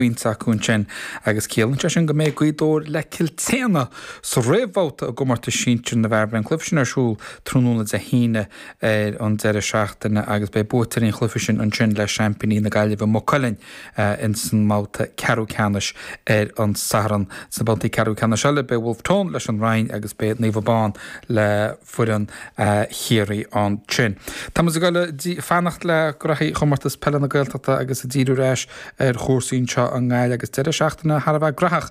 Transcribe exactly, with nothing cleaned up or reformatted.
bpointe acu ansin agus ciallaíonn sé sin go mbeidh Gaoth Dobhair le Cill tSéadhna sa réamhbhabhta i gcomórtas sinsir na bhfear. Beidh an cluiche sin ar siúl tráthnóna Dé hAoine ar an deireadh seachtaine agus beidh buaiteoirí an chluiche sin ansin le seaimpíní na Gaillimhe Maigh Cuilinn in san mbabhta ceathrú ceannais ar an Satharn. Sna babhtaí ceathrú ceannais eile beidh Wolfe Tone leis an Rinn agus beidh Naomh Abán le foireann Chiarraí ansin. Tá muid ag dul fanacht le graithí chomórtas peile na Gaeltachta agus ag díriú ar ais ar chúrsaí anseo i nGaillimh agus deireadh seachtaine thar a bheith graitheach